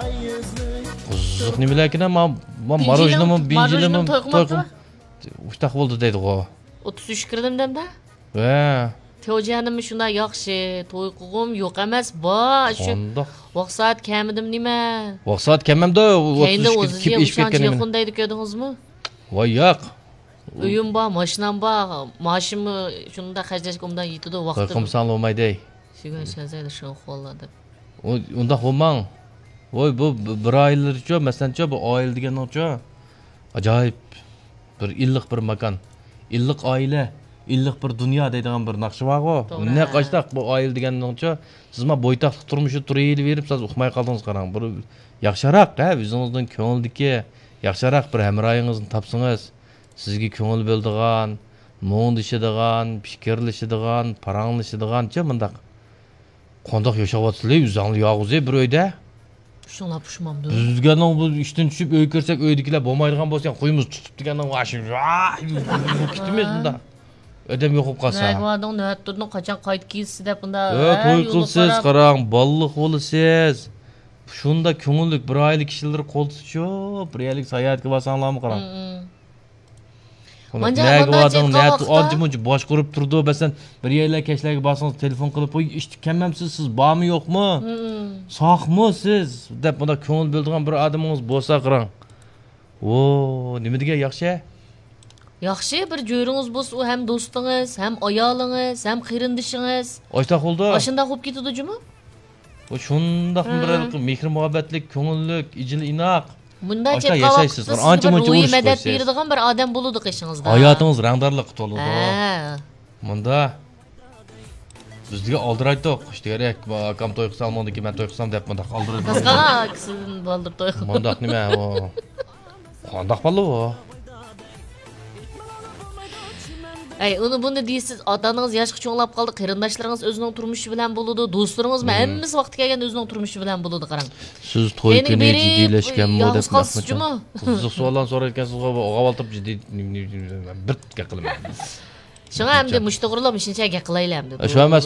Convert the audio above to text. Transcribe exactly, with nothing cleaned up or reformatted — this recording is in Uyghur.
قىزىق نېمىلەركىن، ما، ما، ماروژنىمۇ، بىنجىلىمۇ، توي قىلماپتۇ. ئۇشتاق بولدى دەيدىغۇ. ئوتتۇز ئۈچ كىردىم دەمدە. ۋە. تيوجيەنمۇ شۇنداق ياخشى، توي قىلغۇم يوق ئەمەس، بار شۇ. قانداق؟ ۋاق سائەت كەمىدىم نېمە؟ ۋاق سائەت كەمەمدۇ؟ كەينىدە ئوتتۇز ئۈچ ئۆزى كېلىپ ئېشىپ كەتكەن نېمە؟ ياخشى يېقىن دەيدۇ، كۆردىڭىزمۇ؟ ۋاي ياق. ئۆيۈم بار، ماشىنام بار، مائاشىممۇ شۇنداق خەجلەشكە ئوبدان يېتىدۇ، ۋاقتىم. قىلمىساڭلا بولمايدۇ. شىگەن شەنزەيدە شوخۇللا دەپ. ئۇ، ئۇنداق بولماڭ. ۋوي، بۇ ب-، بىر ئائىلىچۇ، مەسىلەنچۇ، بۇ ئائىلە دېگەننىڭچۇ، ئاجايىپ بىر ئىللىق بىر ماكان. ئىللىق ئائىلە، ئىللىق بىر دۇنيا دەيدىغان بىر ناخشا بارغۇ. توغرا. نەق ئاشتاق بۇ ئائىلە دېگەننىڭچۇ، سىز ما بويتاقلىق تۇرمۇشى تۇرۇۋېلىۋېرىپ، سىز ئۇقماي قالدىڭىز قاراڭ. بىر ياخشىراق، ھە، ئۆزىڭىزنىڭ كۆڭلىدىكى ياخشىراق بىر ھەمراھىڭىزنى تاپسىڭىز، سىزگە كۆڭۈل بۆلىدىغان، مۇڭدىشىدىغان، پىكىرلىشىدىغان، پاراڭلىشىدىغانچە مۇنداق. قانداق ياشاۋاتىسىلەر ئۆزۈڭلار يالغۇز بىر ئۆيدە؟ شۇڭلار پۇشمامدۇ. بىز دېگەننىڭ بۇ ئىشتىن چۈشۈپ ئۆيگە كىرسەك، ئۆيدىكىلەر بولمايدىغان بولسا، يەنە قويىمىز تۇتۇپ دېگەننىڭ ۋاشىم كېتىمىز بۇندا. ئادەم يوقاپ قالسا. نەگە باردىڭ، نۆۋەت تۇردۇڭ، قاچان قايتىپ كېلىسىز دەپ بۇندا. ئە، ھە، توي يولغا قىلسىز، قاراپ. قاراڭ، بالىلىق بولىسىز. شۇنداق كۆڭۈللۈك بىر ئائىلە كىشىلىرى قولتۇتۇشۇپ، بىر يەرلىك ساياھەتكە بارساڭلارمۇ قاراڭ. مم. مانجا نەگە باردىڭ، نەتۇ ئانچە مۇنچە باشقۇرۇپ تۇرىدۇ. مەسىلەن، بىر يەرلەر كەچلەرگە بارسىڭىز، تېلېفون قىلىپ، ۋوي، ئىشتىن كەلمەمسىز، سىز بارمۇ يوقمۇ؟ مم. ساقمۇ سىز؟ دەپ بۇنداق كۆڭۈل بۆلىدىغان بىر ئادىمىڭىز بولسا قاراڭ. ۋو، نېمە دېگەن ياخشى؟ ياخشى، بىر جۆرىڭىز بولسا، ئۇ ھەم دوستىڭىز، ھەم ئايالىڭىز، ھەم قېرىندىشىڭىز. ئاشۇنداق بولىدۇ. ئاشۇنداق بولۇپ كېتىدۇ جۇمۇ. بۇ شۇنداقمۇ بىر ھېلىقى مېھىر مۇھەببەتلىك، كۆڭۈللۈك، ئىجىل ئىناق. مۇنداق ئاشۇنداق چېتىقاپ ياشايسىز. قىلسا، سىزگە ئانچە بىر مۇنچە روھىي مەدەت بېرىدىغان بىر ئادەم بولىدۇ قېشىڭىزدا. ھاياتىڭىز رەڭدارلىققا تولىدۇ. ھە. مۇندا بىز دېگەن ئالدىرايتتۇق. ئىشتىگەرەك، ئاكام توي قىلسا، ئالماڭدىكى مەن توي قىلسام دەپ مۇنداق ئالدىرايدۇ. قىزغانا كىشىدىن بالدۇر توي قىلىپ. مۇنداق نېمە ئۇ؟ قانداق بالا ئۇ؟ ئەي، ئۇنى بۇنى دېيىسىز، ئاتا-ئانىڭىز ياشقا چوڭلاپ قالدى، قېرىنداشلىرىڭىز ئۆزىنىڭ تۇرمۇشى بىلەن بولىدۇ، دوستلىرىڭىزمۇ ھەممىسى ۋاقتى كەلگەندە ئۆزىنىڭ تۇرمۇشى بىلەن بولىدۇ، قاراڭ. سىز توي كەينىگە كۈنى بېرىپ، جىددىيلەشكەنمۇ يالغۇز دەپ قالسىز جۇمۇ. قىزىق سوئاللارنى سورايدىكەنسىزغۇ، ئوغاۋاتىپ جىددىي بىر گەپ قىلىمەن. شۇڭا ئەمدى مۇشۇ توغرىلىق مۇشۇنچە گەپ قىلايلى ئەمدى. شۇ ئەمەس،